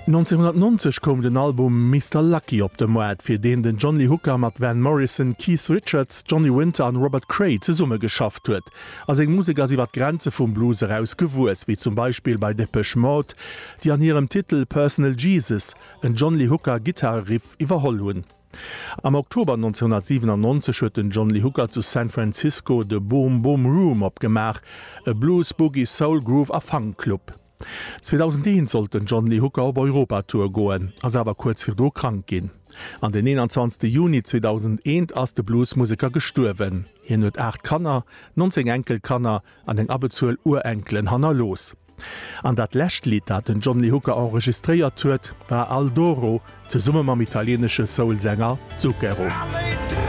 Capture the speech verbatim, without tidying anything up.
Nonzénhunnertnonzeg koum den Album Mister Lucky op de Moart, fir deen den John Lee Hooker mat Van Morrison, Keith Richards, Johnny Winter an Robert Cray zesummegeschafft huet. A seng Musek ass iwwer d'Grenze vum Blues eraus gewuess, wéi zum Beispill bei Depeche Mode, déi an hirem Titel Personal Jesus en John Lee Hooker Gittareriff iwwerholl hunn. Am Oktober nonzénhunnertsiwenannonzeg huet den John Lee Hooker zu San Francisco de Boom Boom Room opgemaach, e Blues, Boogie, Soul, Groove a Funk Club. zweedausendeent sollt den John Lee Hooker op Europatour goen, ass awer kuerz virdru krank ginn. An den eenanzwanzegste Juni zweedausendeent ass de Bluesmuseker gestuerwen. Hien huet aacht Kanner, nonzéng Enkelkanner an eng Abbezuel Urenkelen hannerlooss. An dat lescht Lidd, dat den John Lee Hooker enregistréiert huet, war Al Doro zesumme mam italieenesche Soul-Sänger Zucchero.